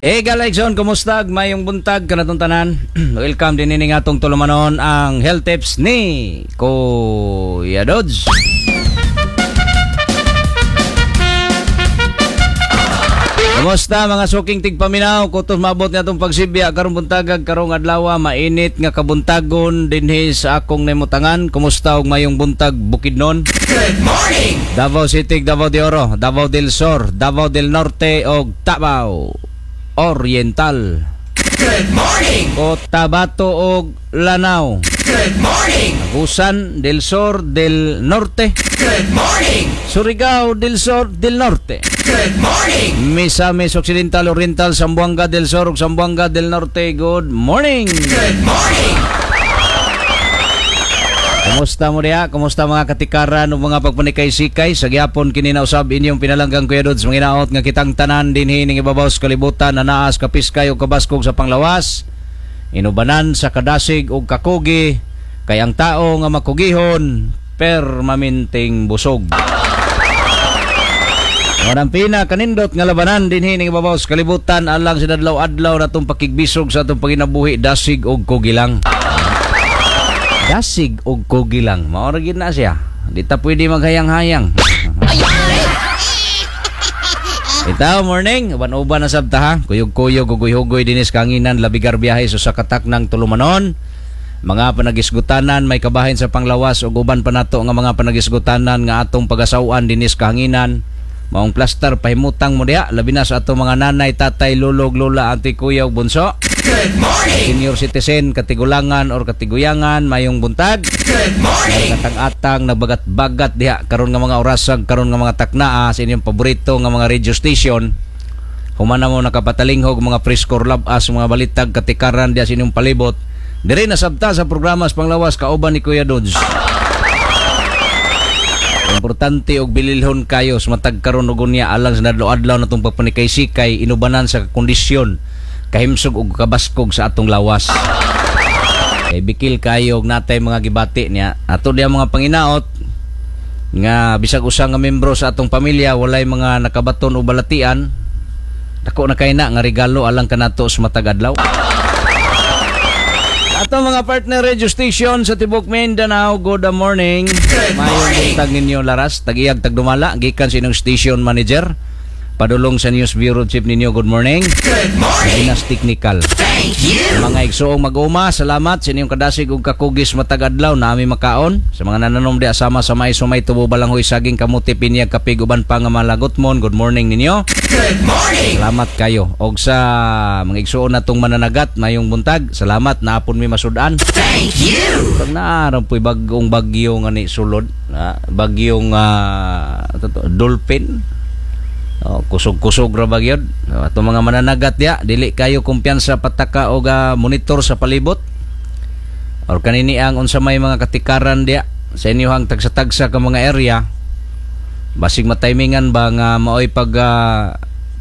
Eh, Galaxon, kumusta? Mayong buntag kanatong tanan. Welcome din ini atong tulumanon, ang health tips ni Kuya Dodge. Kumusta mga suking tigpaminaw? Kutos maabot nga atong pagsibya karong buntagag, karong adlaw, mainit nga kabuntagon dinhi sa akong namutangan. Kumusta og mayong buntag, Bukidnon? Good morning! Davao City, Davao de Oro, Davao del Sur, Davao del Norte og Davao Oriental. Good morning! Cotabato og Lanao. Good morning! Agusan del Sur del Norte. Good morning! Surigao del Sur del Norte. Good morning! Misamis Occidental, Oriental, Zamboanga del Sur ug Zamboanga del Norte. Good morning. Good morning! Kumusta mo diha? Kumusta mga katikaran ug mga pagpanikay-sikay? Sa gyapon kini na usab inyong pinalanggang Kuya Dudes. Manginaot nga kitang tanan dinhi ning ibabaw sa kalibutan na naas kapiskay ug kabaskog sa panglawas. Inubanan sa kadasig ug kakugi, kay ang tao nga makugihon permanenteng busog. Walang pina kanindot nga labanan dinhi ning ibabaw sa kalibutan alang sa adlaw-adlaw natong pakigbisog sa atong panginabuhi, dasig ug kugilang. Dasig og kugilang. Mao ra gyud na siya. Di ta pwede maghayang-hayang. Itaw, morning. Uban-uban na sabta ha. Kuyog-kuyog, hugoy-hugoy dinis kanginan, labigar biyahe sa katak ng tulumanon. Mga panagisgutanan may kabahin sa panglawas ug uban pa nato nga mga panagisgutanan nga atong pagasaw-an dinis kahanginan. Maong plaster pahimutang mo diha, labi na sa atong mga nanay, tatay, lulog, lola, ate, kuya ug bunso. Good morning! Senior citizen, katigulangan or katiguyangan, mayong buntag. Good morning! Katang-atang nagbagat-bagat diha karon nga mga orasag, karon nga mga taknaa sa inyong paborito nga mga radio station. Humana mo nakapatalinghog mga preskor labas, mga balitag katikaran diha sa inyong palibot. Dire na sabta sa programa sa panglawas kauban ni Kuya Dodge. Importante og bililhon kayo sa matag karon ug unya alang sa adlaw-adlaw natong pagpanikay-sikay inubanan sa kondisyon kahimsog og kabaskog sa atong lawas. Kay bikil kayo og natay mga gibati niya. Ato diya mga panginaot nga bisag usa nga membro sa atong pamilya walay mga nakabaton o balatian, dako na kay na nga regalo alang kanato sa matag adlaw. Ato mga partner radio station sa tibok Mindanao, good morning. Good Mayong morning. buntag ninyo laras, tagiyag tagdumala, gikan sa inyong station manager, padulong sa news bureau chief ninyo, good morning. Good morning! Pinas Technical. Thank you! Mga igsoong mag-uma, salamat sa inyong kadasig ug kakugis matag adlaw na ami makaon. Sa mga nananom di asama sa mais, sumay, tubo, balanghoy, saging, kamuti, pinyag, kapig, uban pa nga malagot mon. Good morning ninyo. Good morning! Salamat kayo. Og sa mga igsoon natong mananagat mayong buntag, salamat naapon mi masud-an. Thank you! Pag naaram po'y bagong bagyo nga ni sulod, bagyong dolphin. Oh, kusog-kusog ra ba gyud? Oh, atong mga mananagat diya, dili kayo kumpiyansa pataka og monitor sa palibot. Or kanini ang unsa may mga katikaran diya sa inyohang tagsa-tagsa ka mga area. Basig matimingan ba nga maoy pag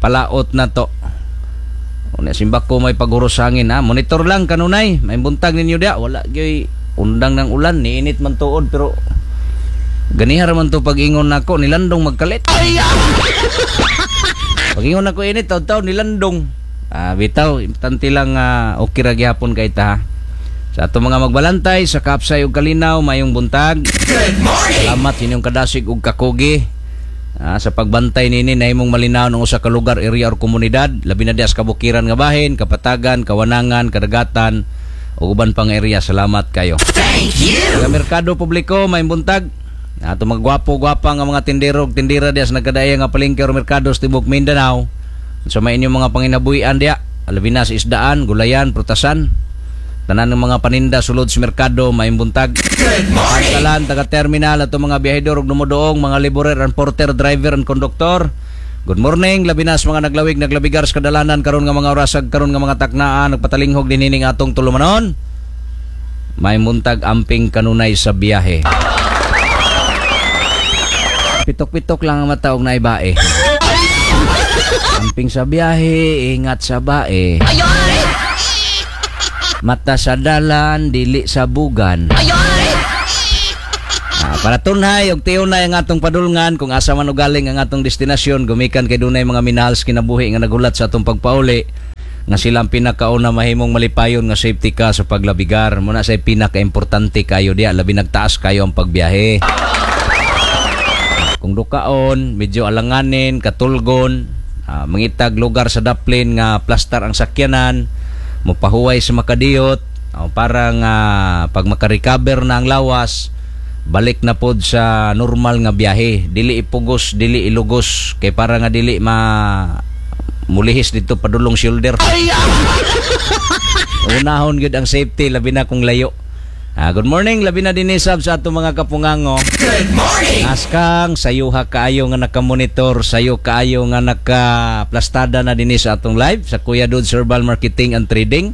palaot na to. Unya simbako may paghuros hangin ha. Monitor lang kanunay. May buntag ninyo diya, wala gyoy undang ng ulan, niinit man tuod pero ganiha ra man to pag-ingon nako nilandong magkalit. Pag-ingon nako init taw-taw nilandong. Bitaw, importante lang okay ra gyapon kay ta. Ha? Sa atong mga magbalantay sa Kapsay ug Kalinaw, mayong buntag. Good morning! Salamat sa inyong kadasig ug kakugi. Sa pagbantay nini nahimong malinaw ng usa ka lugar, area or komunidad, labi na diha sa kabukiran nga bahin, kapatagan, kawanangan, kadagatan ug uban pang area. Salamat kayo. Thank you! Sa merkado publiko, mayong buntag. Ato mga gwapo-gwapa nga mga tindero ug tindera diha sa nagkadaya nga palengke or merkado sa tibok Mindanao. Sa may inyong mga panginabuhian diha, labi na sa isdaan, gulayan, prutasan, tanan ng mga paninda sulod sa merkado, mayong buntag. Good morning! Pantalan, taga-terminal, ato mga biyahedor ug dumuduong, mga laborer and porter, driver and conductor. Good morning, labi na sa mga naglawig, naglabigar sa kadalanan karon nga mga orasag, karon nga mga taknaan, nagpatalinghog dinining atong tulumanon. May muntag amping kanunay sa biyahe. Pitok-pitok lang ang mata og naibae. Amping sa biyahe, ingat sa bae. Mata sa dalan, dili sa bugan. Para tunhay og tiunay ang atong padulngan kung asa man ugaling ang atong destinasyon, gumikan kay dunay mga minahal sa kinabuhi nga nagulat sa atong pagpauli nga sila ang pinakauna mahimong malipayon nga safety ka sa paglabigar. Muna sa pinaka-importante kayo diya, labi nagtaas kayo ang pagbiyahe. Kung dukaon, medyo alanganin, katulgon, mangitag lugar sa daplin nga plastar ang sakyanan, mopahuway sa makadiyot, parang pag makarecover na ang lawas, balik na pod sa normal nga biyahe. Dili ipugos, dili ilugos, kay para nga dili ma mulihis dito padulong shoulder. Unahon gyud ang safety, labi na kung layo. Good morning, labi na dinhi sab sa atong mga kapungango. Good morning. Askang sayuha kaayo nga nakamonitor, sayo kaayo nga nakaplastada na dinhi sa atong live sa Kuya Dudes Herbal Marketing and Trading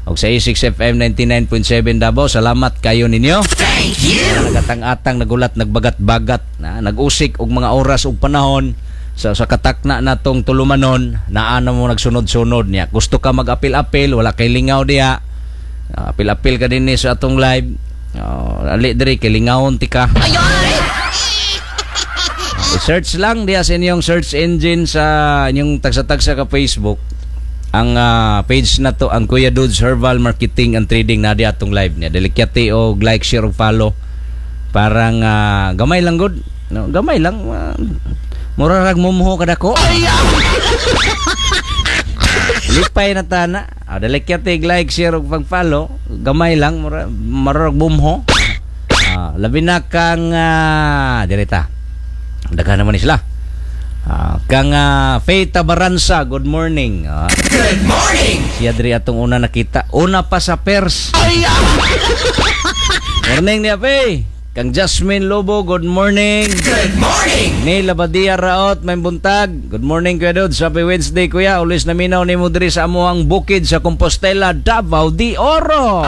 og sa A6 FM 99.7 Davao. Salamat kayo ninyo. Thank you. Nagatang-atang, nagulat, nagbagat-bagat, na nag-usik og mga oras ug panahon sa katakna natong tulumanon, naa na mo nagsunod-sunod niya. Gusto ka mag-apil-apil, wala kay lingaw diya. Apil-apil ka dinhi sa atong live. Ali diri kay lingawon ti ka. I-search lang diya sa inyong search engine sa inyong tagsa-tagsa ka Facebook. Ang page na to, ang Kuya Dudes Herbal Marketing and Trading, na di atong live niya. Dilikyati og like, share og follow. Parang gamay lang gud. No, gamay lang. Mura rag mumuho kadako. Lipay na tana. Dilikyati og like, share og pag-follow. Gamay lang mura marag bumho. Labi na kang direta. Daghan naman ni sila. Kang Faye Tabaranza, good morning. Good morning. Siya diri atong una nakita. Una pa sa pers. Morning niya, Faye. Kang Jasmine Lobo, good morning. Good morning. Neil Abadia Raot, may buntag. Good morning, Kuya Dudes. Happy Wednesday, Kuya. Ulis na minaw ni mo diri sa amuang bukid sa Compostela, Davao de Oro.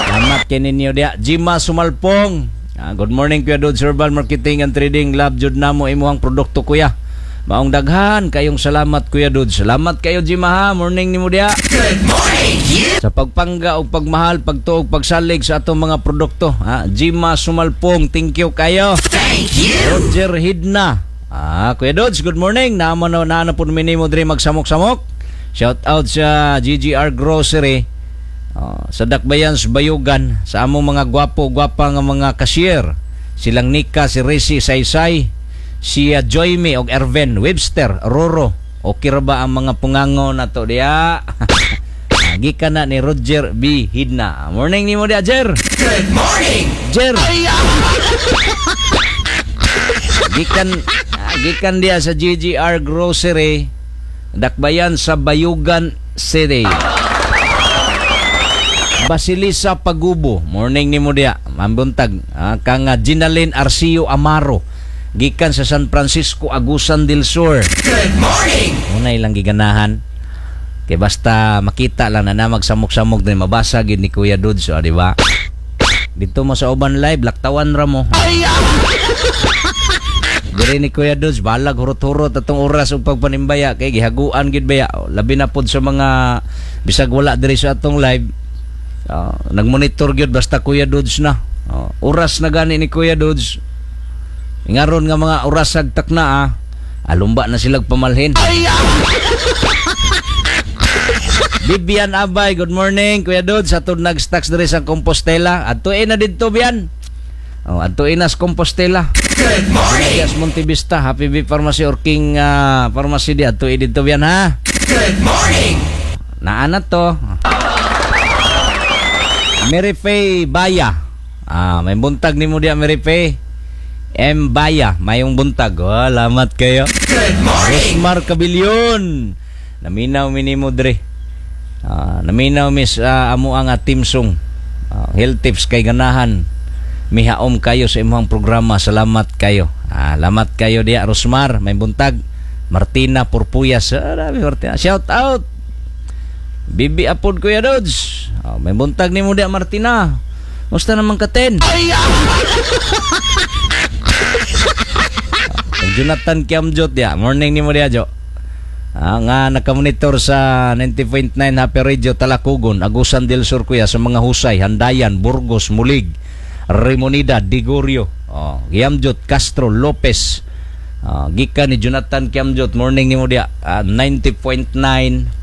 Salamat kay ninyo diya. Jima Sumalpong. Good morning, Kuya Dudes Herbal Marketing and Trading. Love jud namo imuhang produkto, Kuya. Maong daghan kayong salamat, Kuya Dudes. Salamat kayo, Jima, ha. Morning nimo diya. Good morning, you. Sa pagpangga og pagmahal, pagtuog, pagsalig sa atong mga produkto. Ha? Jima Sumalpong, thank you kayo. Thank you. Roger Hidna. Kuya Dudes, good morning. Naamo na naano po nimo diri magsamok-samok. Shout out sa GGR Grocery. Sa Dakbayan sa Bayugan, sa among mga gwapo-gwapa nga mga cashier. Silang Nika, si Resi Saysay, si Joyme og Erven Webster, Roro. Okay ra ba ang mga pungango na to diya? Gikan na ni Roger B. Hidna. Morning nimo diya, Jer. Good morning. Jer. Gikan diya sa GGR Grocery, Dakbayan sa Bayugan City. Basilisa Pagubo, morning nimo diya. Mambuntag. Kang Ginalyn Arcio Amaro, gikan sa San Francisco, Agusan del Sur. Good morning. Una ilang giganahan. Kay basta makita lang na magsamok-samok din mabasa gid ni Kuya Dudes, di ba? Dito mo sa uban live, laktawan ra mo. Diri ni Kuya Dudes, balag hurot-hurot atong oras ug pagpanimbaya kay gihaguan gid baya. Labi na pod sa mga bisag wala diri sa atong live. Nagmonitor gyud basta Kuya Dudes na. Oras na gani ni Kuya Dudes. Ingaron nga mga orasag takna. Alumba na silag pamalhin. Bibian Abay, good morning Kuya Dudes. Atong nag-stocks diri sa Compostela. Adtoe na didto, Bian. Oh, adtoe na sa Compostela. Good morning. Yes, Montevista, Happy Bee Pharmacy or King Pharmacy di adtoe didto, Bian, ha. Good morning. Naa na to. Mary Faye Baya. May buntag nimo diya, Mary Faye. M. Baya, mayong buntag. Oh, salamat kayo. Good morning. Rosmar Cabilyon. Naminaw minimo dre. Naminaw mis amo ang team song. Health tips kay ganahan. Mihaom kayo sa imong programa. Salamat kayo. Salamat kayo diya, Rosmar, may buntag. Martina Purpuyas. Dami, Martina. Shout out. Bibi Apod, Kuya Dudes. May buntag nimo diya, Martina. Musta naman ka, Ten? Jonathan Kiamjot diya. Morning nimo diya, Jo. Nga nakamonitor sa 90.9 Happy Radio Talacogon, Agusan del Sur, kuya, sa mga Husay, Handayan, Burgos, Mulig. Remonida, Digorio, oh, Giamjot, Castro, Lopez. Gikan ni Jonathan Kiamjot, morning nimo dia. 90.9